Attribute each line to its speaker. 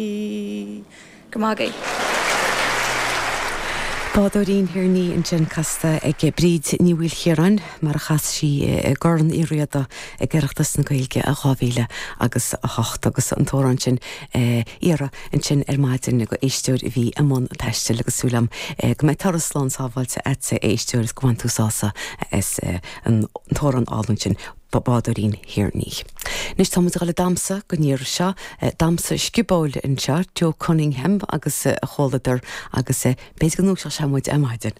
Speaker 1: Go raibh maith agaibh.
Speaker 2: Bádóirín Thír an Fhia ansin casta ag Bríd Ní Mhaoilchiaráin mar a chas sí i gCorn Uí Riada ag Oireachtas na Gaeilge i 2000 agus 8 agus an t-amhrán sin iarrtha ansin ar maidin ag éisteoir a bhí i mbun taistil agus súil agam go mbeidh turas slán sábháilte agatsa a éisteoir is go bhain tú sásamh as an t-amhrán álainn sin. Bádóirín Thír an Fhia. Anois tá muid ag dul ag damhsa don iarraidh seo, damhsa sciobóil anseo, Joe Cunningham agus a chomhluadar agus b'fhéidir go ndúiseodh sé muid ar maidin.